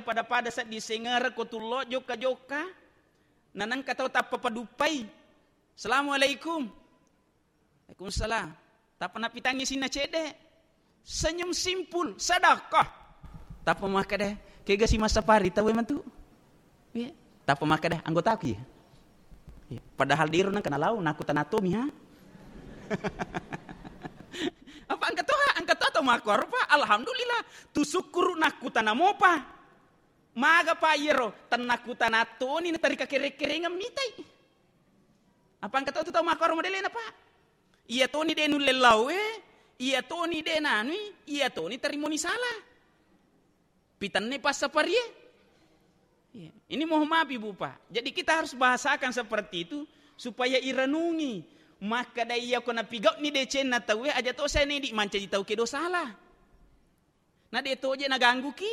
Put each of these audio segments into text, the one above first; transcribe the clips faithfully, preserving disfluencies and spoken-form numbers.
pada-pada seddi sengere ko tullo jokka-jokka. Nanengka tau tappa paduppai. "Assalamualaikum." "Waalaikumsalam." Tappa napitangngi sinna cedde. Senyum simpul, sedekah. Tappa makkeda, "Kega si massapari tauwe matu?" Iya. Tappa makkeda, "Anggotaku iya." Iya. Padahal dero nengka nalau, nakkutana tomi, ha? Apa engka toha, engka toha tau makkuaro, Pak? Alhamdulillah. Tu sukkuru nakkutana mopa. Maga, Pak, iyaro? Tennakkutana toni natari kakere-kerengeng mitai. Apa engka to tu tau makkuaro modelena, Pak? Iya toni de nulle laoe, iya toni de nanui, iya toni tarimoni sala. Pitanne passaparie. Iya. Ini mohon maaf, Ibu, Pak. Jadi kita harus bahasakan seperti itu supaya irenungi. Makkeda iya ko napigauni decenna tauwe, aja to saya nedi mancaji tau kedo sala. Na de toje nagangguki,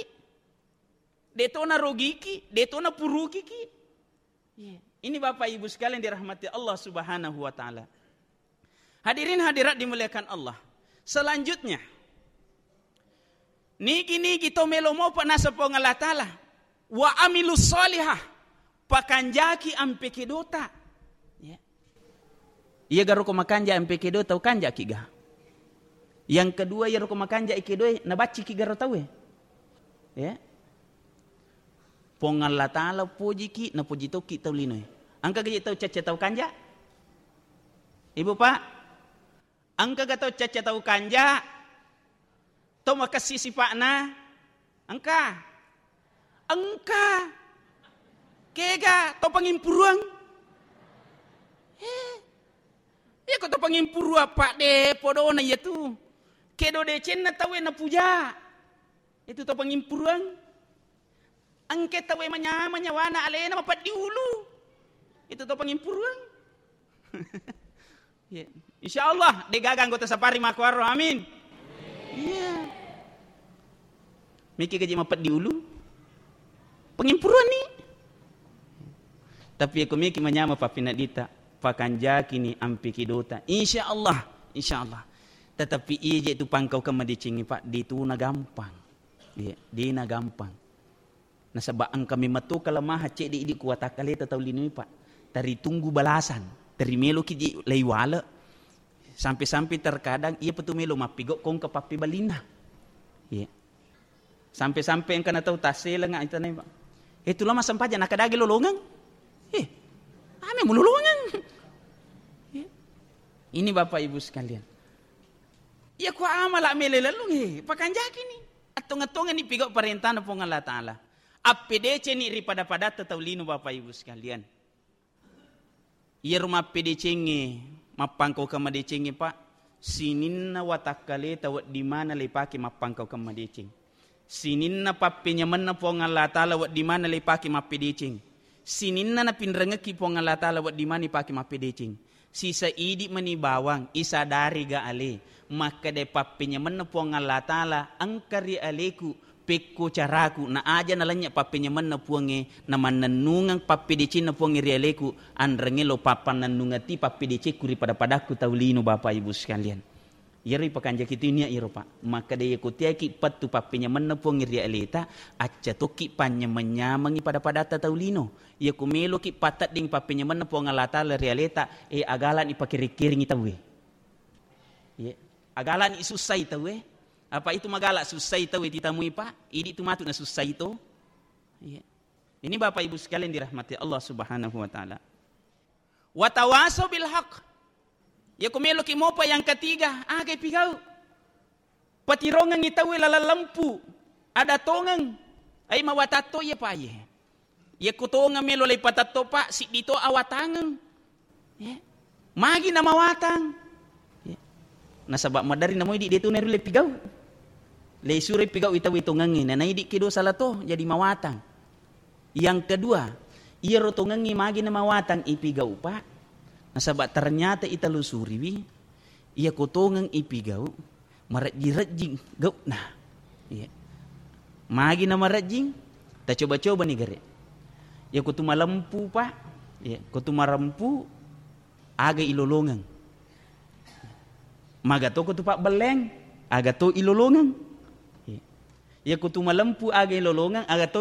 de to narogiki, de to napurukiki. Iya. Ini Bapak Ibu sekalian dirahmati Allah Subhanahu wa Ta'ala. Hadirin hadirat dimuliakan Allah. Selanjutnya, nigi-nigi to melo mopa naseng Puang Allah Ta'ala, "Wa amilus solihah," pakanjaki ampe kedota. Ya. Iya garo ko makanja ampe kedota, ukanjaki ga? Yang kedua, iyaro ko makanja kedoe, nabacciki garo tauwe. Ya. Puang Allah Ta'ala pojiki, napoji tokki tau linoe. Engka gaji tau cacca tau kanja? Ibu, Pak, engka ga tau cacca tau kanja? Tau makessi sipa'na? Engka. Engka. Kega tau pangimpuruang? Eh. Iya ko tau pangimpuruang, Pak, de podona iya tu. Kedo decenna tauwe napuja. Itu tau pangimpuruang. Engke tauwe manyama nyawana alena mapeddi ulu. Itu to pangimpuruang. Ya. Insya Allah, de gaga anggota safari makkuaro. Amin. Iya. Miki gaji mapeddi ulu. Pangimpuruang ni. Tapi aku miki manyama papinadita, pakanjaki ni ampi kidota. Insya Allah, insya Allah. Tetapi ije tu pangkau kemadeceng, Pak, dituna gampang. Iya, dena gampang. Nasaba engka memang to kelemahan cedde idi ku watakkaleta tau linoe, Pak. Teri tunggu balasan, teri meloki ji lei wale. Sampai-sampai terkadang iya petu melo mappigau kongka pappebalinna. Iya. Sampai-sampai engka na tau tasselenga itanai, Pak. Eh, tu lama sempajang nakadagi lolongeng. Eh, ame mu lolongeng. Iya. Ini Bapak Ibu sekalian. Iya, ku amala mele lellung, he, pakanjaki ni. Attong-attongenni pigau parentana Puang Allah Ta'ala. Appedeceni ri pada-padatta tau lino, Bapak Ibu sekalian. Iyaro mappedecengnge, mappangkau kemadecenge, Pak, sininna watakkaleta wedding mana leipake mappangkau kemadeceng. Sininna pappenyamenna Puang Allah Ta'ala wedding mana leipake mappedeceng. Sininna napinrengekki Puang Allah Ta'ala wedding mana ipake mappedeceng. Sisa idi mani bawang, isadari ga ale, makkeda pappenyamenna Puang Allah Ta'ala engka ri aleku, pekko caraku, na aja nalennye pappenyamenna Puangnge, na mannennungeng pappedecenna Puangnge ri aleku, anrengnge lo pappannennungeng ti pappedecekku ri pada-padakku tau lino, Bapak Ibu sekalian. Iyaro ipakanjaki tu nia iyaro, Pak. Makkeda iya ko tiaki pettu pappenyamenna Puang ri aleta, acca tokki panyameng-nyamengi pada-padatta tau lino. Iya ko meloki patedding pappenyamenna Puang Allah Ta'ala ri aleta, eh, agalani pakere-kerengi tauwe. Iya. Agalani sussai tauwe. Apa itu magala sussai tauwe titamui, Pak? Idi tu matu na sussai to. Iya. Ini Bapak Ibu sekalian dirahmati Allah Subhanahu wa Ta'ala. Watawasau bil haq. Ya, ku meloki mopa yang ketiga, aga ipigau. Patirongengi tauwe laleng lempu. Ada tongeng. Ai mawatatto iya, Pak, iye. Ya, ku tongeng melo lei patatto, Pak, siddi to awatangeng. Ya. Magi na mawatang. Ya. Nasaba maderri namoi di detu neru le pigau. Le sure pigau itawi tongengi, na naidi kedo sala to, jadi mawatang. Yang kedua, iyaro tongengngi magi na mawatang ipigau, Pak. Nasaba ternyata italusuriwi, iya ko tongeng ipigau, marejjing-rejjing gauna. Iya. Magi na marejjing, tacoba-coba ni gare. Iya ko tu malempu, Pak. Iya, ko tu marempu, aga ilolongeng. Maga to ko tu pabbelleng, aga to ilolongeng. Iya. Iya ko tu malempu aga ilolongeng, aga to